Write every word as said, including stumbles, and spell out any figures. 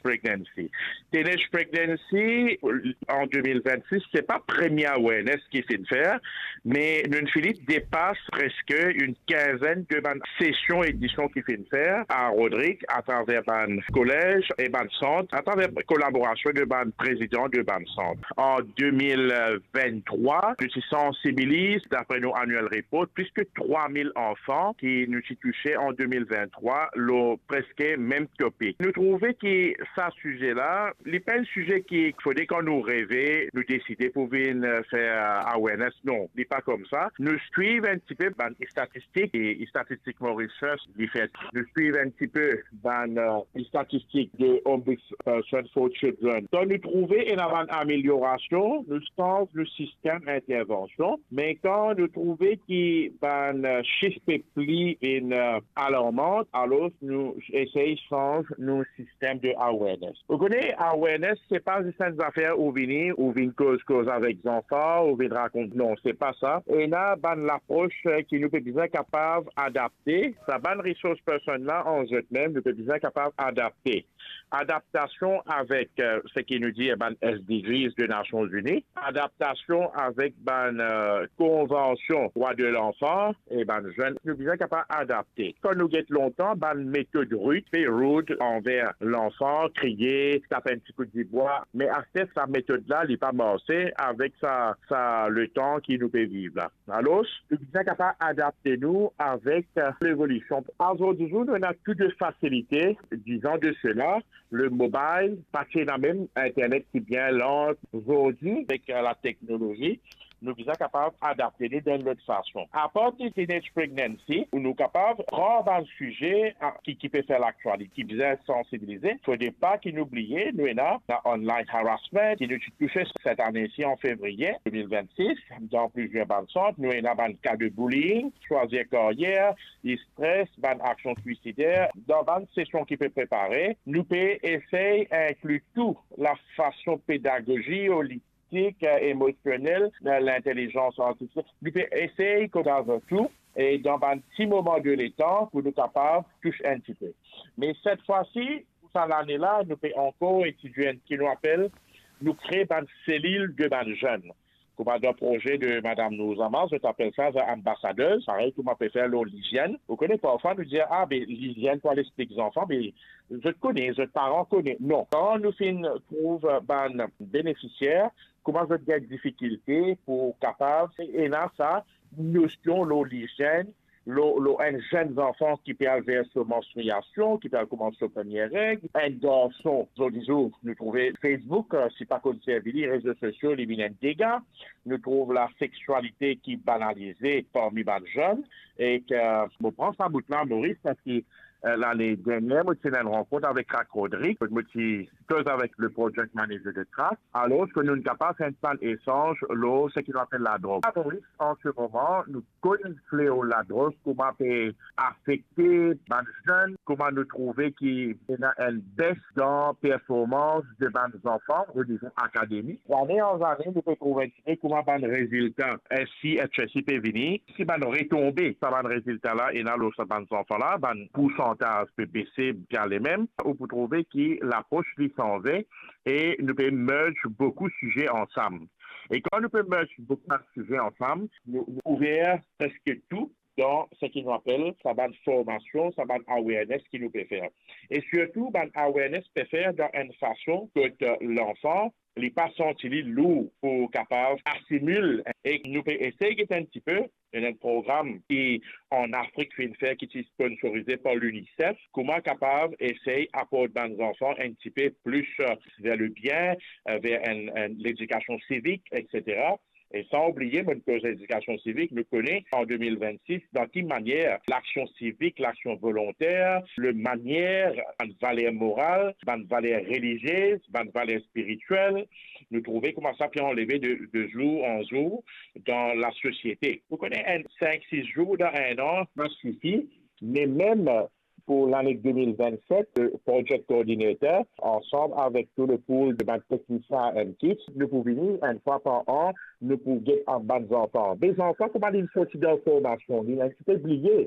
Pregnancy. Teenage Pregnancy, an de mil vennsis, se pa premie awareness ki finn fer, me nou finn depas preske enn kinzenn de bann sesion edision ki finn fer a Rodrig, atraver bann kolez e bann sant, atraver kolaborasion de bann prezidan de bann sant. An de mil venntrwa, nou ti sansibiliz, dapre nou annual report, plis ki trwa mil anfan ki nou ti touse an de mil venntrwa lor preske mem topik. Nou trouve ki sa size la, li pa enn size ki fode kan nou reve, nou deside pou vinn, eh, fer, eh, awareness. Non, li pa koumsa. Nou swiv enn tipe bann statistik, e statistik Mauritius li fer. Nou swiv enn tipe bann, eh, statistik de Ombudsperson for Children. Donk nou trouve ena bann ameliorasion, nou sanz nou sistem intervansion, me kan nou trouve ki bann, eh, sif pe pli vinn, eh, alarman, alor nou esey sanz nou sistem de awareness. Ou kone, awareness, se pa zis enn zafer ou vini, ou vinn koz, koz avek zanfan, ou vinn rakont. Non, se pa sa. Ena bann lapros, eh, ki nou pe bizin kapav adapte. Sa bann resource person la, an zot mem, nou pe bizin kapav adapte. Adaptasion avek, eh, seki nou dir bann S D Gs de Nasion Ini, adaptasion avek bann, eh, konvansion drwa de lanfan e bann zenn, nou bizin kapav adapte. Kan nou get lontan, bann metod rud, pe rud anver lanfan, kriye, tap enn ti kout dibwa, me aster sa metod la, li pa marse avek sa, sa letan ki nou pe viv la. Alor, nou bizin kapav adapte nou avek, eh, levolision. Azordi zour, nou ena tou de fasilite, diz an de sela, le mobile, pa ti ena mem internet ki bien lant. Zordi, avek, eh, lateknolozi, nou bizin kapav adapte nou dan enn lot fason. Apar de teenage pregnancy, ou nou kapav pran bann size, ah, ki, ki pe fer laktialite, ki bizin sansibilize, fode pa ki nou bliye, nou ena, ena online harassment, ki nou ti touse set ane isi an fevriye de mil vennsis, dan plizier bann sant, nou ena bann ka de bullying, swazir karyer, stres, bann aksion swisider. Dan bann sesion ki pe prepare, nou pe esey inkli tou lafason pedagozi, holistik, eh, emosionel, eh, lintelizans artifisiel. Nou pe esey koz avek tou, e dan bann ti moman de letan pou nou kapav tous enn tipe. Me set fwa si, pou sa lane la, nou pe ankor etidie enn ki nou apel, nou kre bann selil de bann zenn. Kouma dan proze de Madam Nouzama, zot apel sa, zot anbasader, parey kouma pe fer lor lizienn. Ou kone, parfwa nou dir, ah, be, lizienn pou al explik zanfan, be, zot kone, zot paran kone. Non, kan nou finn trouv bann benefisier, kouma zot gagn difikilte pou kapav ena sa nosion lor lizienn, lor, lor enn zenn zanfan ki pe al ver so manstriasion, ki pe al koumans so premie reg, enn garson, zordi zour, nou trouve Facebook, eh, si pa konn servi li, rezo sosio, li vinn enn dega, nou trouv laseksialite ki banalize parmi bann zenn, e ke, mo pran sa bout la, Maurice, parski, eh, lane dernier, mo ti ena enn rankont avek Crack Rodrig, kot mo ti koz avek le project manager de Crack, alor ke nou kapav fer enn bann esanz lor seki nou apel ladrog. Maurice, an se moman, nou konn fleo ladrog, kouma pe afekte bann zenn, kouma nou trouve ki ena enn bes dan performans de bann zanfan, o nivo akademik. Zane an zane, nou pe trouve enn tipe kouma bann rezilta S C H S C pe vini, si bann retonbe sa bann rezilta la ena lor sa bann zanfan la, bann poursantaz pe bese, bien lemem, ou pou trouve ki lapros li sanze, e nou pe merge boukou size ansam. E kan nou pe merge boukou bann size ansam, nou, nou kouver preske tou dan seki nou apel sa bann formasion, sa bann awareness ki nou pe fer. E sirtou, bann awareness pe fer dan enn fason kot, eh, lanfan, li pa santi li lour pou kapav asimil. E nou pe esey get enn tipe, ena enn program ki an Afrik finn fer, ki ti sponsorize par l'UNICEF, kouma kapav esey aport bann zanfan enn tipe plis, eh, ver lebien, eh, ver enn, enn ledikasion sivik, etsetera. E san oubliye, mo koz ledikasion sivik, nou kone an de mil vennsis, dan ki manier laksion sivik, laksion volonter, le manier, bann valer moral, bann valer relizie, bann valer spiritiel, nou trouve kouma sa pe anleve de, de zour an zour dan lasosiete. Ou kone, enn sink, sis zour dan enn an, pa sifi, me mem pou lane de mil vennset, le project coordinator, ansam avek tou le pool de bann teknisien and kids, nou pou vini enn fwa par an, nou pou get bann zanfan. Be zanfan, kouma li sorti dan formasion, li enn tipe bliye.